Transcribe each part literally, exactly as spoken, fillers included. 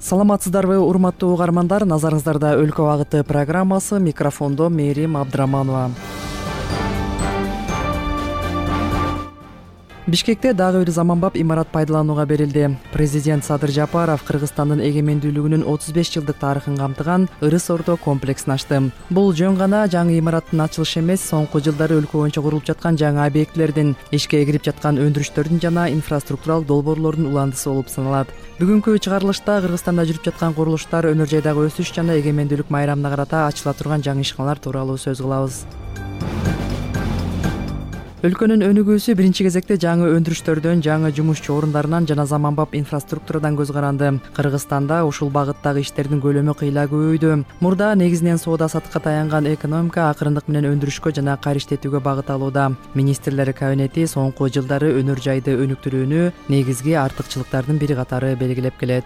Саламатсыздарбы, урматтуу угармандар, назарыңыздарда Өлкө багыты программасы, микрофондо Мээрим Абдыраманова. Бишкекте дагы бир заманбап имарат пайдаланууга берилди. Президент Садыр Жапаров Кыргызстандын эгемендүүлүгүнүн отуз беш жылдык тарыхын камтыган Ырыс Ордо комплексин ачты. Бул жөн гана жаңы имараттын ачылышы эмес, соңку жылдары өлкө боюнча курулуп жаткан жаңы объектилердин, ишке кирип жаткан өндүрүштөрдүн жана инфраструктуралык долбоорлордун уландысы болуп саналат. Бүгүнкү чыгарылышта Кыргызстанда жүрүп жаткан курулуштар, өнөр жайдагы өсүш жана эгемендүүлүк майрамына карата ачыла турган жаңы ишканалар тууралуу сөз кылабыз. Өлкөнүн өнүгүүсү биринчи кезекте жаңы өндүрүштөрдөн, жаңы жумушчу орундарынан жана заманбап инфраструктурадан көз каранды. Кыргызстанда ушул багыттагы иштердин көлөмү кыйла көбөйдү. Мурда негизинен соода саттыкка таянган экономика акырындык менен өндүрүшкө жана кайра иштетүүгө багыт алууда. Министрлер кабинети соңку жылдары өнөр жайды өнүктүрүүнү негизги артыкчылыктардын бири катары белгилеп келет.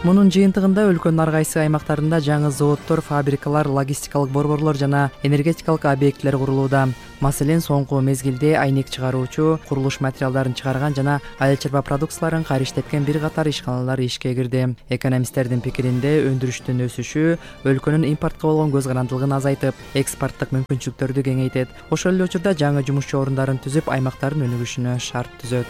Мунун жыйынтыгында өлкөнүн ар кайсы аймактарында жаңы заводдор, фабрикалар, логистикалык борборлор жана энергетикалык объектилер курулууда. Маселен, соңку мезгилде айнек чыгаруучу, курулуш материалдарын чыгарган жана айыл чарба продукцияларын кайра иштеткен бир катар ишканалар ишке кирди. Экономисттердин пикиринде, өндүрүштүн өсүшү өлкөнүн импортко болгон көз карандылыгын азайтып, экспорттук мүмкүнчүлүктөрдү кеңейтет. Ошол эле учурда жаңы жумушчу орундарын түзүп, аймактардын өнүгүшүнө шарт түзөт.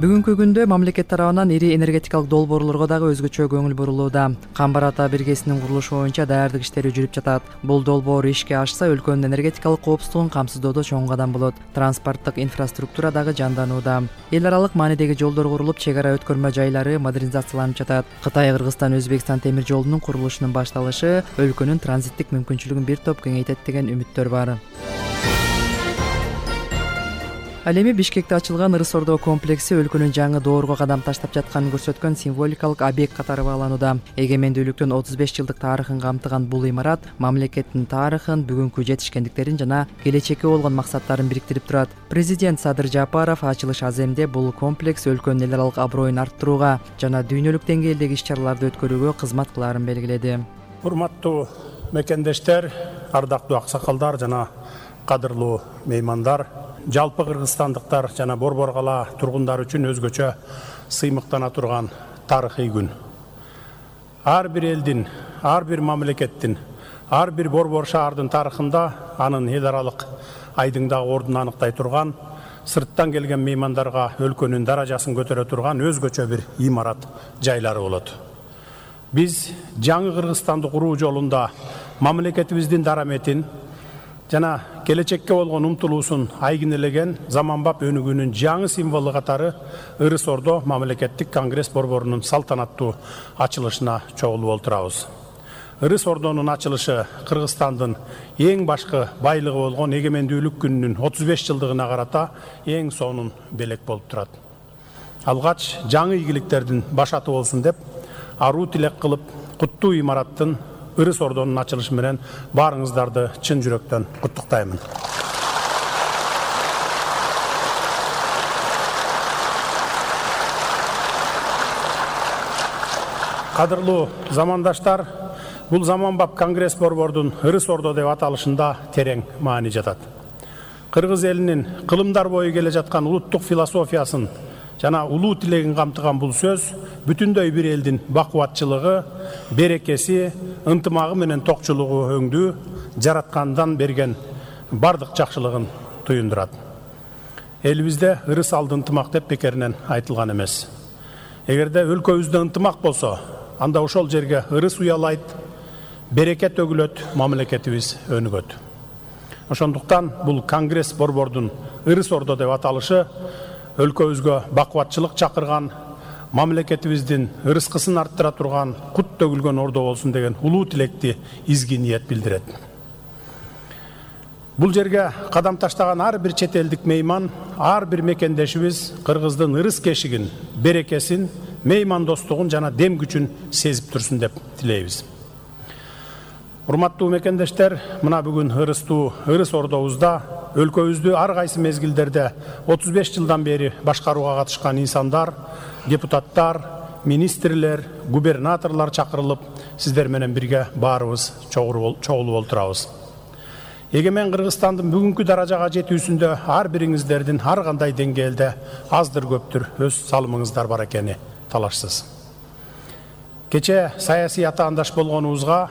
Бүгүнкү күндө мамлекет тарабынан ири энергетикалык долбоорлорго дагы өзгөчө көңүл бурулууда. Камбар ата биргесинин курулушу боюнча даярдык иштери жүрүп жатат. Бул долбоор ишке ашса, өлкөнүн энергетикалык коопсуздугун камсыздоодо чоң кадам болот. Транспорттук инфраструктура дагы жанданууда. Эл аралык маанидеги жолдор курулуп, чек ара өткөрмө жайлары модернизацияланып жатат. Кытай, Кыргызстан, Өзбекстан темир жолунун курулушунун башталышы өлкөнүн транзиттик мүмкүнчүлүгүн бир топ кеңейтет деген үмүттөр бар. Ал эми Бишкекте ачылган Ырыс Ордо комплекси өлкөнүн жаңы доорго кадам таштап жатканын көрсөткөн символикалык объект катары бааланууда. Эгемендүүлүктүн отуз беш жылдык тарыхын камтыган бул имарат мамлекеттин тарыхын, бүгүнкү жетишкендиктерин жана келечекке болгон максаттарын бириктирип турат. Президент Садыр Жапаров ачылыш аземде бул комплекс өлкөнүн эл аралык аброюн арттырууга жана дүйнөлүк деңгээлдеги иш-чараларды өткөрүүгө кызмат кылаарын белгиледи. Урматтуу мекендештер, ардактуу аксакалдар жана кадырлуу меймандар, жалпы кыргызстандыктар жана Борбор кала тургундары үчүн өзгөчө сыймыктана турган тарыхый күн. Ар бир элдин, ар бир мамлекеттин, ар бир борбор шаардын тарыхында анын эл аралык айдыңдагы ордун аныктай турган, сырттан келген меймандарга өлкөнүн даражасын көтөрө турган өзгөчө бир имарат жайлары болот. Биз жаңы Кыргызстанды куруу жолунда мамлекетибиздин дараметин жана келечекке болгон умтулуусун айгинелеген заманбап өнүгүүнүн жаңы символу катары Ырыс Ордо мамлекеттик конгресс борборунун салтанаттуу ачылышына чогулуп олтурабыз. Ырыс Ордонун ачылышы Кыргызстандын эң башкы байлыгы болгон эгемендүүлүк күнүнүн отуз беш жылдыгына карата эң сонун белек болуп турат. Алгач жаңы ийгиликтердин башаты болсун деп аруу тилек кылып, куттуу имараттын Ырыс Ордонун ачылышы менен баарыңыздарды чын жүрөктөн куттуктаймын. Кадырлуу замандаштар, бул заманбап конгресс борбордун Ырыс Ордо деп аталышында терең маани жатат. Кыргыз элинин кылымдар бою келе жаткан улуттук философиясын жана улуу тилегин камтыган бул сөз бүтүндөй бир элдин бакубатчылыгы, берекеси, ынтымагы менен токчулугу өңдүү жараткандан берген бардык жакшылыгын туюндурат. Элибизде ырыс алды ынтымак деп бекеринен айтылган эмес. Эгерде өлкөбүздө ынтымак болсо, анда ошол жерге ырыс уялайт, береке төгүлөт, мамлекетибиз өнүгөт. Ошондуктан бул конгресс борбордун Ырыс Ордо деп аталышы өлкөбүзгө бакубатчылык чакырган, мамлекетибиздин ырыскысын арттыра турган, кут төгүлгөн ордо болсун деген улуу тилекти изги ниет билдирет. Бул жерге кадам таштаган ар бир чет элдик мейман, ар бир мекендешибиз Кыргыздын ырыс кешигин, берекесин, меймандостугун жана дем күчүн сезип турсун деп тилейбиз. Урматтуу мекендештер, мына бүгүн ырыстуу Ырыс Ордобузда өлкөбүздү ар кайсы мезгилдерде отуз беш жылдан бери башкарууга катышкан инсандар, депутаттар, министрлер, губернаторлор чакырылып, сиздер менен бирге баарыбыз чогулуп олтурабыз. Эгемен Кыргызстандын бүгүнкү даражага жетүүсүндө ар бириңиздердин ар кандай деңгээлде аздыр көптүр өз салымыңыздар бар экени талашсыз. Кече саясий атаандаш болгонубузга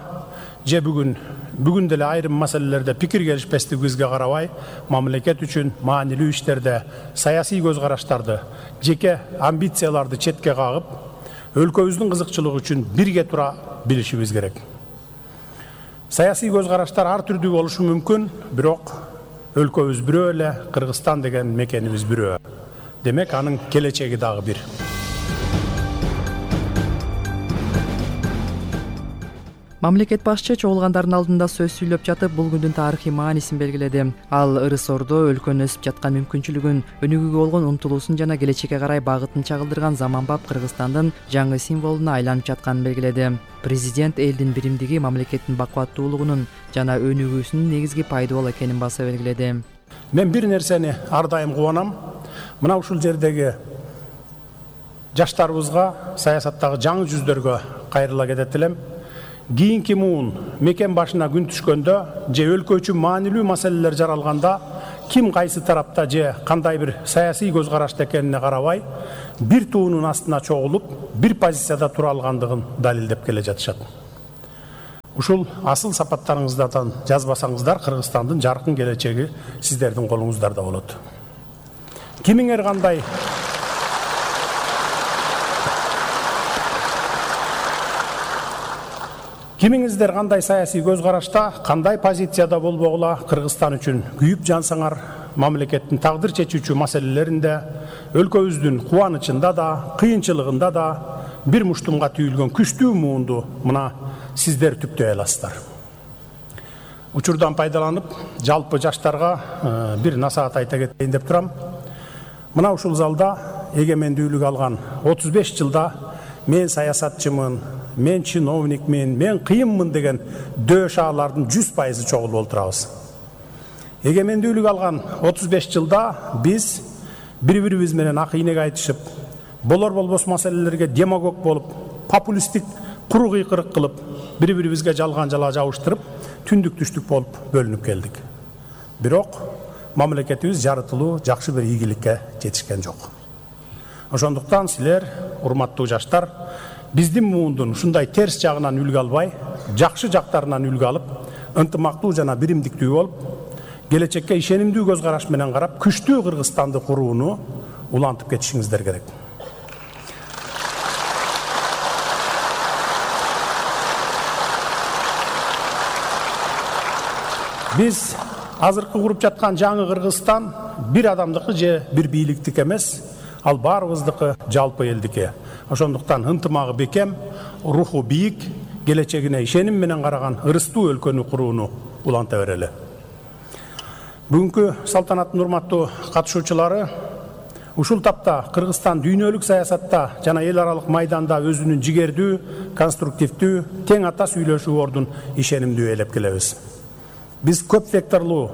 же бүгүн бүгүн деле айрым маселелерде пикир келишпестигибизге карабай, мамлекет үчүн маанилүү иштерде саясий көз караштарды, жеке амбицияларды четке кагып, өлкөбүздүн кызыкчылыгы үчүн бирге тура билишибиз керек. Саясий көз караштар ар түрдүү болушу мүмкүн, бирок өлкөбүз бирөө эле, Кыргызстан деген мекенибиз бирөө. Демек, анын келечеги дагы бир. Мамлекет башчы чогулгандардын алдында сөз сүйлөп жатып, бул күндүн тарыхый маанисин белгиледи. Ал ырыс-ордо өлкөнүн өсүп жаткан мүмкүнчүлүгүн, өнүгүүгө болгон умтулуусун жана келечекке карай багытын чагылдырган заманбап Кыргызстандын жаңы символуна айланып жатканын белгиледи. Президент элдин биримдиги, мамлекеттин бакубаттуулугунун жана өнүгүүсүнүн негизги пайдубал экенин баса белгиледи. Мен бир нерсени ар дайым кубанам. Мына ушул жердеги жаштарыбызга, саясаттагы жаңы жүздөргө кайрыла кетет элем. Кийинки муун мекен башына күн түшкөндө же өлкө үчүн маанилүү маселелер жаралганда, ким кайсы тарапта же кандай бир саясий көз карашта экенине карабай, бир туунун астына чогулуп, бир позицияда тура алгандыгын далилдеп келе жатышат. Ушул асыл сапаттарыңыздардан жазбасаңыздар, Кыргызстандын жаркын келечеги сиздердин колуңуздарда болот. Кимиңер кандай Кимиңиздер кандай саясий көз карашта, кандай позицияда болбогула, Кыргызстан үчүн күйүп жансаңар, мамлекеттин тагдыр чечүүчү маселелеринде, өлкөбүздүн кубанычында да, кыйынчылыгында да бир муштумга түйүлгөн күчтүү муунду мына сиздер түптөй аласыздар. Учурдан пайдаланып, жалпы жаштарга бир насаат айта кетейин деп турам. Мына ушул залда эгемендүүлүк алган отуз беш жылда мен саясатчымын, мен чиновникмин, мен кыйынмын деген дөшаалардын жүз пайызы чогулуп отурабыз. Эгемендүүлүк алган отуз беш жылда биз бири-бирибиз менен ак ийнек айтышып, болор болбос маселелерге демагог болуп, популисттик куру кыйкырык кылып, бири-бирибизге жалган жала жабыштырып, түндүк түштүк болуп бөлүнүп келдик. Бирок мамлекетибиз жарытылуу жакшы бир ийгиликке жетишкен жок. Ошондуктан силер, урматтуу жаштар, биздин муундун ушундай терс жагынан үлгү албай, жакшы жактарынан үлгү алып, ынтымактуу жана биримдиктүү болуп, келечекке ишенимдүү көз караш менен карап, күчтүү Кыргызстанды курууну улантып кетишиңиздер керек. Биз азыркы куруп жаткан жаңы Кыргызстан бир адамдыкы же бир бийликтик эмес, ал баарыбыздыкы, жалпы элдики. Ошондуктан ынтымагы бекем, руху бийик, келечегине ишеним менен караган ырыстуу өлкөнү курууну уланта берели. Бүгүнкү салтанаттын урматтуу катышуучулары, ушул тапта Кыргызстан дүйнөлүк саясатта жана эл аралык майданда өзүнүн жигердүү, конструктивдүү, тең ата сүйлөшүү ордун ишенимдүү ээлеп келебиз. Биз көп векторлуу,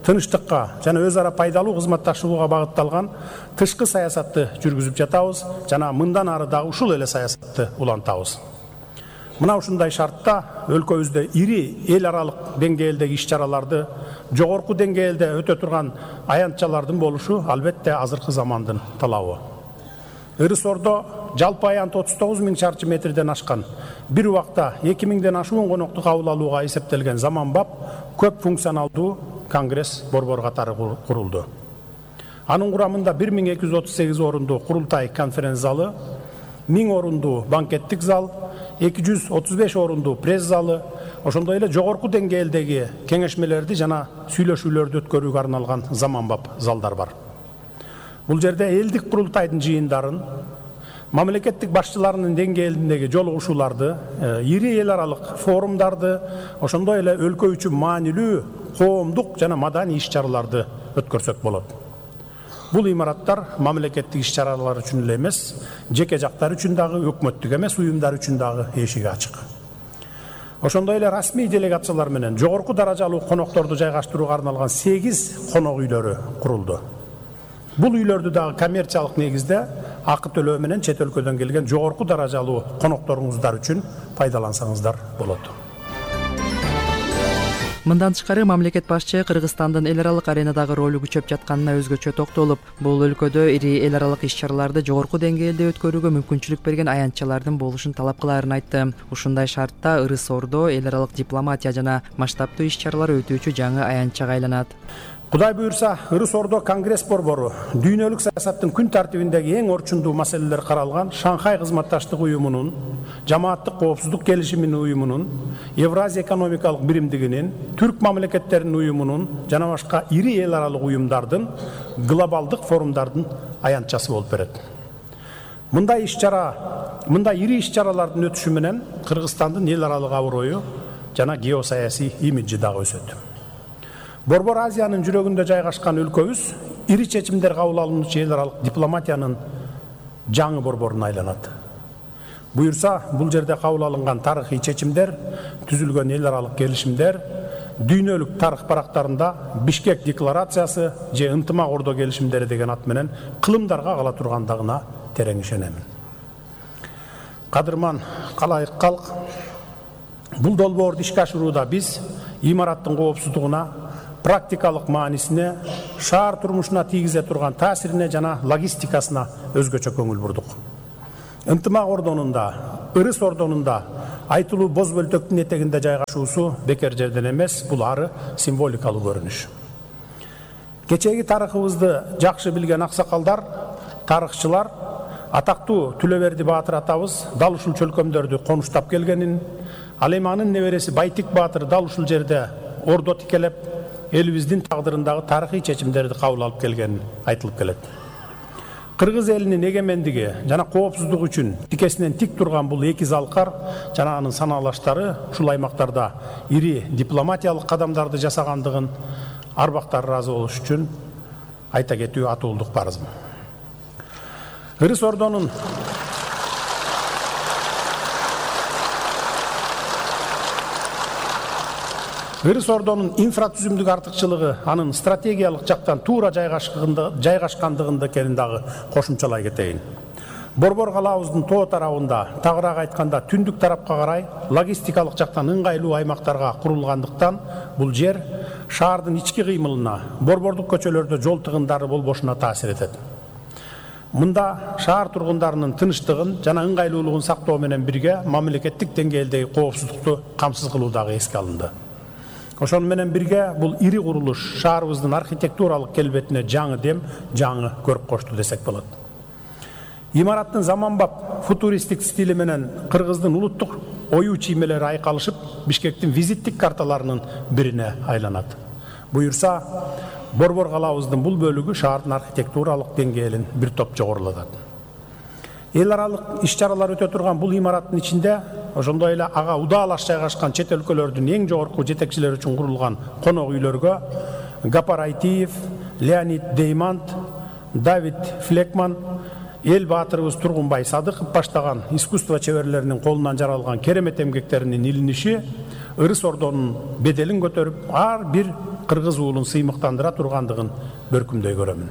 тынычтыкка жана өз ара пайдалуу кызматташууга багытталган тышкы саясатты жүргүзүп жатабыз жана мындан ары дагы ушул эле саясатты улантабыз. Мына ушундай шартта өлкөбүздө ири эл аралык деңгээлдеги иш-чараларды, жогорку деңгээлде өтө турган аянтчалардын болушу албетте азыркы замандын талабы. Ырыс-ордо жалпы аянт отуз тогуз миң чарчы метрден ашкан, бир убакта эки миңден ашуун конокту кабыл алууга эсептелген заманбап көп функционалдуу конгресс борбор катары курулду. Анын курамында бир миң эки жүз отуз сегиз орунду курултай конференц залы, миң орунду банкеттик зал, эки жүз отуз беш орунду пресс залы, ошондой эле жогорку деңгээлдеги кеңешмелерди жана сүйлөшүүлөрдү өткөрүүгө арналган заманбап залдар бар. Бул жерде элдик курултайдын жыйындарын, мамлекеттик башчыларынын деңгээлиндеги жолугушууларды, ири эл аралык форумдарды, ошондой эле өлкө үчүн маанилүү коомдук жана маданий иш-чараларды өткөрсөк болот. Бул имараттар мамлекеттик иш-чаралар үчүн эле эмес, жеке жактар үчүн дагы, өкмөттүк эмес уюмдар үчүн дагы эшиги ачык. Ошондой эле расмий делегациялар менен жогорку даражалуу конокторду жайгаштырууга арналган сегиз конок үйлөрү курулду. Бул үйлөрдү дагы коммерциялык негизде акы төлөө менен чет өлкөдөн келген жогорку даражалуу конокторуңуздар үчүн пайдалансаңыздар болот. Мындан тышкары мамлекет башчы Кыргызстандын эл аралык аренадагы ролу күчөп жатканына өзгөчө токтолуп, бул өлкөдө ири эл аралык иш-чараларды жогорку деңгээлде өткөрүүгө мүмкүнчүлүк берген аянтчалардын болушун талап кылаарын айтты. Ушундай шартта Ырыс Ордо эл аралык дипломатия жана масштабтуу иш-чаралар өтүүчү жаңы аянтчага айланат. Кудай буюрса, Ырыс Ордо Конгресс борбору дүйнөлүк саясаттын күн тартибиндеги эң орчундуу маселелер каралган Шанхай кызматташтык уюмунун, Жамааттык коопсуздук келишиминин уюмунун, Евразия экономикалык биримдигинин, Түрк мамлекеттеринин уюмунун жана башка ири эл аралык уюмдардын глобалдык форумдардын аянтчасы болуп берет. Мындай иш-чара, мындай ири иш-чаралардын өтүшү менен Кыргызстандын эл аралык аброю жана геосаясий имиджи дагы өсөт. Борбор Азиянын жүрөгүндө жайгашкан өлкөбүз ири чечимдер кабыл алынуучу эл аралык дипломатиянын жаңы борборуна айланат. Буюрса, бул жерде кабыл алынган тарыхый чечимдер, түзүлгөн эл аралык келишимдер, дүйнөлүк тарых барактарында Бишкек декларациясы же ынтымак Ордо келишимдери деген ат менен кылымдарга кала тургандыгына терең ишенемин. Кадырман калайык калк, бул долбоорду ишке ашырууда биз имараттын коопсуздугуна, практикалык маанисине, шаар турмушуна тийгизе турган таасирине жана логистикасына өзгөчө көңүл бурдук. Ынтымак Ордонун да, Ырыс Ордонун да айтылуу боз бөлтөктүн этегинде жайгашуусу бекер жерден эмес, бул ары символикалуу көрүнүш. Кечеги тарыхыбызды жакшы билген аксакалдар, тарыхчылар атактуу Түлөберди Баатыр атабыз дал ушул чөлкөмдөрдү конуштап келгенин, ал эми анын небереси Байтик Баатыр дал ушул жерде ордо тикелеп, элибиздин тагдырындагы тарыхый чечимдерди кабыл алып келгени айтылып келет. Кыргыз элинин эгемендиги жана коопсуздугу үчүн тикесинен тик турган бул эки залкар жана анын санаалаштары ушул аймактарда ири дипломатиялык кадамдарды жасагандыгын арбактар ыраазы болуш үчүн айта кетүү атуулдук парызым. Ырыс Ордонун Ырыс Ордонун инфратүзүмдүк артыкчылыгы анын стратегиялык жактан туура жайгашкандыгында экенин дагы кошумчалай кетейин. Борбор калаабыздын тоо тарабында, тагыраак айтканда түндүк тарапка карай логистикалык жактан ыңгайлуу аймактарга курулгандыктан бул жер шаардын ички кыймылына, борбордук көчөлөрдө жол тыгындары болбошуна таасир этет. Мында шаар тургундарынын тынычтыгын жана ыңгайлуулугун сактоо менен бирге мамлекеттик деңгээлдеги коопсуздукту камсыз кылуу дагы эске алынды. Ошону менен бирге бул ири курулуш шаарыбыздын архитектуралык келбетине жаңы дем, жаңы көрүп кошту десек болот. Имараттын заманбап футуристик стили менен Кыргыздын улуттук оюу чиймелери айкалышып, Бишкектин визиттик карталарынын бирине айланат. Буюрса, борбор калаабыздын бул бөлүгү шаардын архитектуралык деңгээлин бир топ жогорулатат. Эл аралык иш-чаралар өтө турган бул имараттын ичинде ошондой эле ага удаалаш жайгашкан чет өлкөлөрдүн эң жогорку жетекчилери үчүн курулган конок үйлөргө Гапар Айтиев, Леонид Деймант, Давид Флекман, эл баатырыбыз Тургунбай Садыков баштаган искусство чеберлеринин колунан жаралган керемет эмгектеринин илиниши Ырыс Ордонун беделин көтөрүп, ар бир кыргыз уулун сыймыктандыра тургандыгын бөркүмдөй көрөмүн.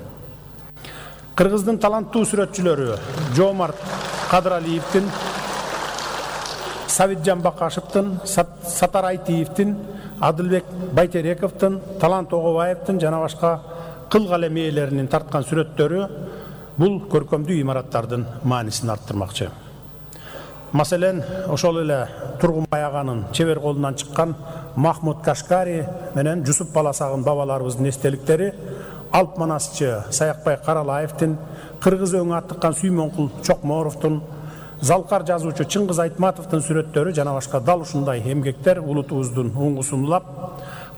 Кыргыздын таланттуу сүрөтчүлөрү Жоомарт Кадыралиевдин, Савитжан Бакашевдин, Сатар Айтиевдин, Адылбек Байтерековдун, Талант Огобаевдин жана башка кыл калем ээлеринин тарткан сүрөттөрү бул көркөмдүү имараттардын маанисин арттырмакчы. Маселен, ошол эле Тургунбай аганын чебер колунан чыккан Махмуд Кашкари менен Жусуп Баласагын бабаларыбыздын эстеликтери, Алп манасчы Саякбай Каралаевдин, кыргыз өңү аттыккан Сүймөнкул Чокморовдун, залкар жазуучу Чыңгыз Айтматовдун сүрөттөрү жана башка дал ушундай эмгектер улутубуздун уңгусун улап,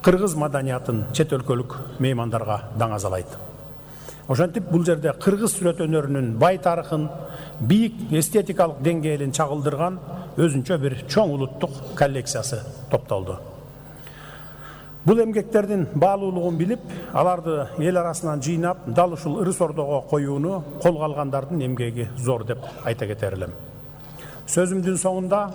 кыргыз маданиятын чет өлкөлүк меймандарга даңазалайт. Ошентип бул жерде кыргыз сүрөт өнөрүнүн бай тарыхын, бийик эстетикалык деңгээлин чагылдырган өзүнчө бир чоң улуттук коллекциясы топтолду. Бул эмгектердин баалуулугун билип, аларды эл арасынан жыйнап, дал ушул Ырыс Ордого коюуну колго алгандардын эмгеги зор деп айта кетер элем. Сөзүмдүн соңунда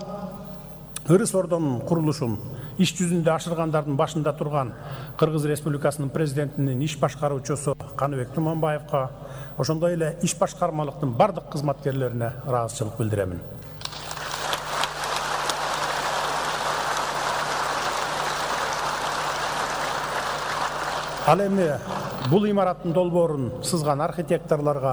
Ырыс Ордонун курулушун иш жүзүндө ашыргандардын башында турган Кыргыз Республикасынын президентинин иш башкаруучусу Каныбек Туманбаевка, ошондой эле иш башкармалыктын бардык кызматкерлерине ыраазычылык билдиремин. Ал эми бул имараттын долбоорун сызган архитекторлорго,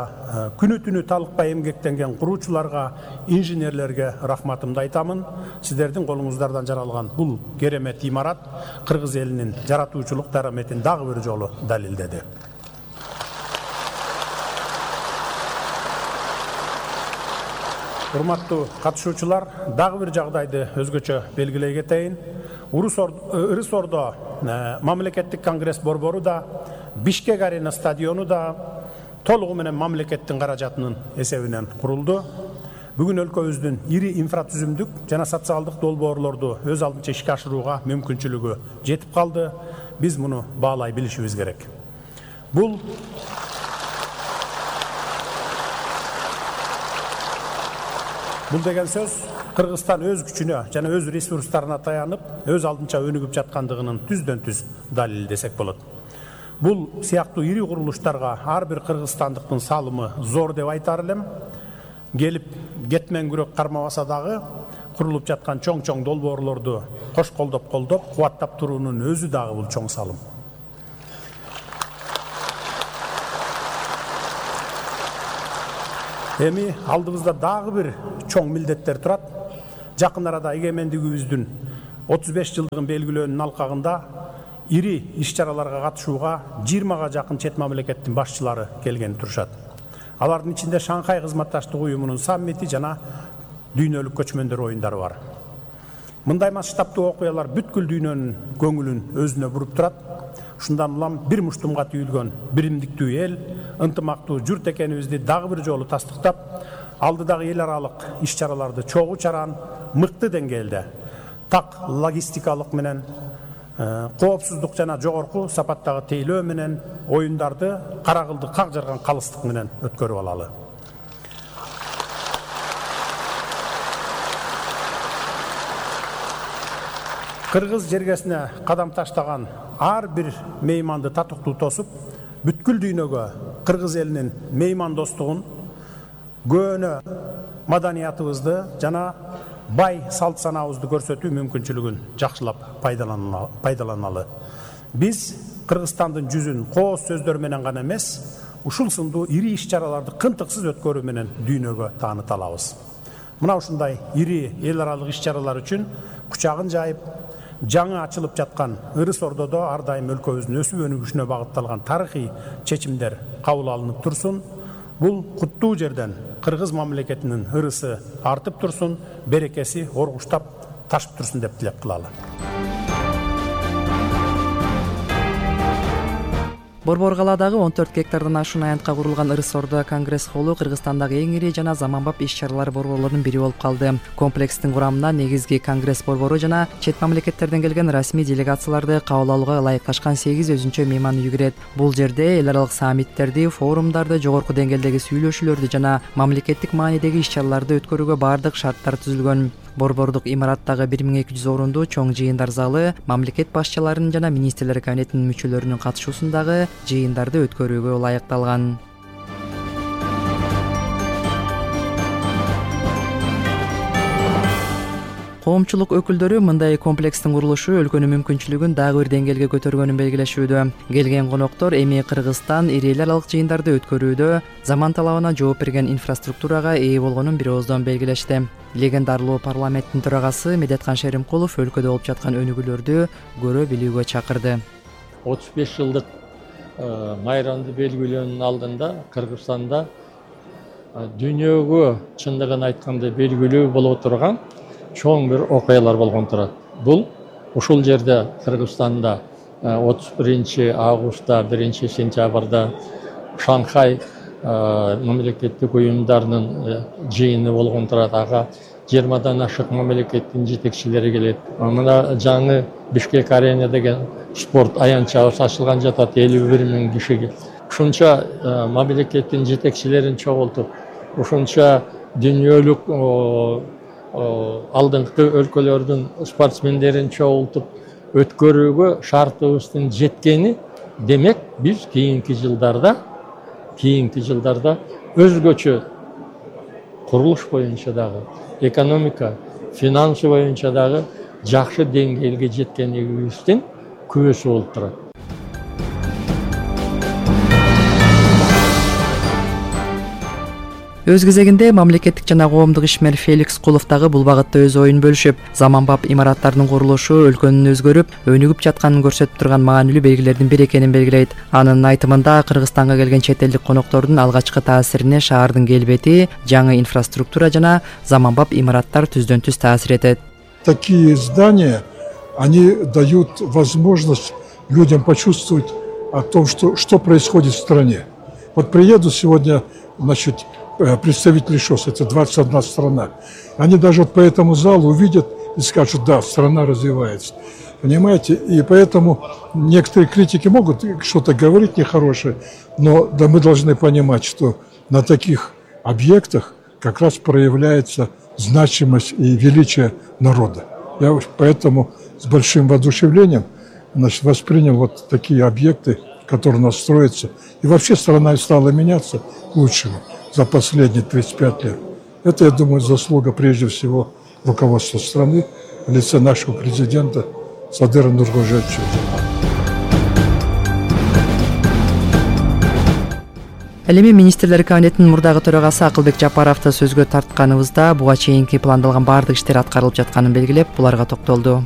күнү түнү талыкпай эмгектенген куруучуларга, инженерлерге рахматымды айтамын. Сиздердин колуңуздардан жаралган бул керемет имарат кыргыз элинин жаратуучулук дараметин дагы бир жолу далилдеди. Урматтуу катышуучулар, дагы бир жагдайды өзгөчө белгилей кетейин. Ырыс Ордо мамлекеттик конгресс борбору да, Бишкек арена стадиону да толугу менен мамлекеттин каражатынын эсебинен курулду. Бүгүн өлкөбүздүн ири инфратүзүмдүк жана социалдык долбоорлорду өз алдынча ишке ашырууга мүмкүнчүлүгү жетип калды. Биз муну баалай билишибиз керек. Бул Бул деген сөз Кыргызстан өз күчүнө жана өз ресурстарына таянып, өз алдынча өнүгүп жаткандыгынын түздөн түз далили десек болот. Бул сыяктуу ири курулуштарга ар бир кыргызстандыктын салымы зор деп айтар элем. Келип кетмен күрөк кармабаса дагы курулуп жаткан чоң-чоң долбоорлорду кош колдоп колдоп, кубаттап туруунун өзү дагы бул чоң салым. Эми алдыбызда дагы бир чоң милдеттер турат. Жакын арада эгемендигибиздин отуз беш жылдыгын белгилөөнүн алкагында ири иш-чараларга катышууга жыйырмага жакын чет мамлекеттин башчылары келген турушат. Алардын ичинде Шанхай кызматташтык уюмунун саммити жана дүйнөлүк көчмөндөр оюндары бар. Мындай масштабтуу окуялар бүткүл дүйнөнүн көңүлүн өзүнө буруп турат. Ушундан улам бир муштумга түйүлгөн биримдиктүү эл, ынтымактуу журт экенибизди дагы бир жолу тастыктап, алдыдагы эл аралык иш-чараларды чогуу чаран, мыкты деңгээлде, так логистикалык менен, коопсуздук жана жогорку сапаттагы тейлөө менен оюндарды кара кылды как жарган калыстык менен өткөрүп алалы. Кыргыз жергесине кадам таштаган ар бир мейманды татыктуу тосуп, бүткүл дүйнөгө кыргыз элинин меймандостугун, көөнө маданиятыбызды жана бай салт санаабызды көрсөтүү мүмкүнчүлүгүн жакшылап пайдаланалы. Биз Кыргызстандын жүзүн кооз сөздөр менен гана эмес, ушул сындуу ири иш-чараларды кынтыксыз өткөрүү менен дүйнөгө тааныта алабыз. Мына ушундай ири эл аралык иш-чаралар үчүн кучагын жайып, жаңы ачылып жаткан Ырыс Ордодо ар дайым өлкөбүздүн өсүп өнүгүшүнө багытталган тарыхый чечимдер кабыл алынып турсун. Бул куттуу жерден кыргыз мамлекетинин ырысы артып турсун, берекеси оргуштап ташып турсун деп тилек кылалы. Борбор калаадагы он төрт гектардан ашуун аянтка курулган Ырыс Ордо конгресс холлу Кыргызстандагы эң ири жана заманбап иш-чаралар борборлорунун бири болуп калды. Комплекстин курамына негизги конгресс борбору жана чет мамлекеттерден келген расмий делегацияларды кабыл алууга ылайыкташкан сегиз өзүнчө мейман үй кирет. Бул жерде эл аралык саммиттерди, форумдарды, жогорку деңгээлдеги сүйлөшүүлөрдү жана мамлекеттик маанидеги иш-чараларды өткөрүүгө бардык шарттар түзүлгөн. Борбордук имараттагы бир миң эки жүз орунду чоң жыйындар залы мамлекет башчыларынын жана министрлер кабинетинин мүчөлөрүнүн катышуусундагы жыйындарды өткөрүүгө ылайыкталган. Коомчулук өкүлдөрү мындай комплекстин курулушу өлкөнүн мүмкүнчүлүгүн дагы бир деңгээлге көтөргөнүн белгилешүүдө. Келген коноктор эми Кыргызстан ири эл аралык жыйындарды өткөрүүдө заман талабына жооп берген инфраструктурага ээ болгонун бир ооздон белгилешти. Легендарлуу парламенттин төрагасы Медеткан Шеримкулов өлкөдө болуп жаткан өнүгүүлөрдү көрө билүүгө чакырды. отуз беш жылдык майрамды белгилөөнүн алдында Кыргызстанда дүйнөгө чындыгын айтканда белгилүү боло турган чоң бир окуялар болгон турат. Бул ушул жерде Кыргызстанда отуз биринчи августта, биринчи сентябрда Шанхай мамлекеттик уюмдарынын жыйыны болгон турат. Ага жыйырмадан ашык мамлекеттин жетекчилери келет. Мына жаңы Бишкек арена деген спорт аянтчабыз ачылган жатат, элүү бир миң кишиге. Ушунча мамлекеттин жетекчилерин чогултуп, ушунча дүйнөлүк алдыңкы өлкөлөрдүн спортсмендерин чогултуп өткөрүүгө шартыбыздын жеткени демек биз кийинки жылдарда кийинки жылдарда өзгөчө курулуш боюнча дагы, экономика, финансы боюнча дагы жакшы деңгээлге жеткенибиздин күбөсү болуп турат. Өз кезегинде мамлекеттик жана коомдук ишмер Феликс Кулов дагы бул багытта өз оюн бөлүшүп, заманбап имараттардын курулушу өлкөнүн өзгөрүп, өнүгүп жатканын көрсөтүп турган маанилүү белгилердин бири экенин белгилейт. Анын айтымында Кыргызстанга келген чет элдик коноктордун алгачкы таасирине шаардын келбети, жаңы инфраструктура жана заманбап имараттар түздөн түз таасир этет. Такие здания, они дают возможность людям почувствовать о том, что, что происходит в стране. Вот приедут сегодня, значит, представители ШОС, это двадцать одна страна, они даже вот по этому залу увидят и скажут, да, страна развивается. Понимаете? И поэтому некоторые критики могут что-то говорить нехорошее, но да, мы должны понимать, что на таких объектах как раз проявляется значимость и величие народа. Я поэтому с большим воодушевлением, значит, воспринял вот такие объекты, которые у нас строятся. И вообще страна стала меняться к лучшему за последние тридцать пять лет. Это, я думаю, заслуга прежде всего руководства страны в лице нашего президента Садыра Нуркожоевича. Ал эми министрлер кабинетинин мурдагы төрагасы Акылбек Жапаровду сөзгө тартканыбызда буга чейинки пландалган баардык иштер аткарылып жатканын белгилеп, буларга токтолду.